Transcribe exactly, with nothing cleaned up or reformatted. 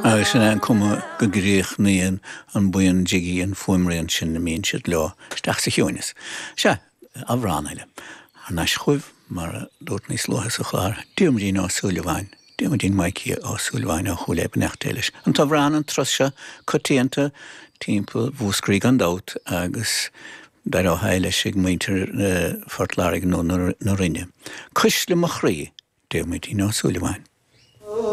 Agus sin é an cuma go gcríochnaíonn an buíon Jiggy an fuaimrian sin a mbíonn siad leo isteach sa chiúineas. Sea, amhrán eile. Thar n-ais chugaibh, mar a dúirt níos luaithe sa chlár, Diarmuidín Ó Súilleabháin, Diarmuidín Maidhcí Ó Súilleabháin ó Chúil Aodha, beannacht Dé leis. An t-amhrán an turas seo coitianta timpeall Mhúscraí gan dabht agus d'éireodh leis ag muintir Phort Láirge nó na Rinne. Cuisle mo chroí, Diarmuidín Ó Súilleabháin.